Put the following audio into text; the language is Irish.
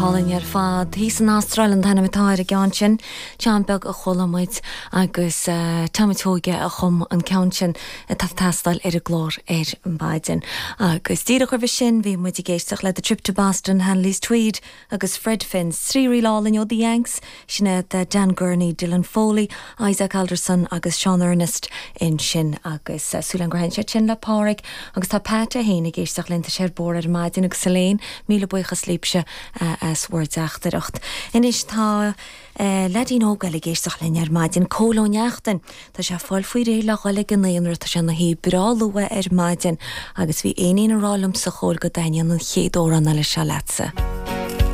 Álainn ar fad. Thíos san Astráil an t-ainm atá ar an gceann sin. Ceann beag a chuala muid agus Tommy Toghe a chum an ceann sin atá ag teastáil ar an gclár ar maidin. Agus díreach roimhe sin bhí muid ag éisteacht le The Trip to Boston, Hanneliese Tweed agus Fred Finz. 3 ríl álainn ó The Yanks, sin iad Dan Gurney, Dylan Foley, Isaac Alderson agus Seán Ernest ansin agus súil agam gur thaitin siad sin le Páraic agus tá Pat é féin ag éisteacht linn, tá sé ar bord ar maidin agus Elaine, míle buíochas libhse as bhur dteachtaireacht. Anois tá leaidín óg eile ag éisteacht linn ar maidin, Cóil Ó Neachtain. Tá sé ag fáil faoi réir le dhul ag an naíonra, tá sé ina shuí breá luath ar maidin agus bhí éinín ag rá liomsa a Chóil go dtaitníonn an chéad amhrán eile seo leatsa.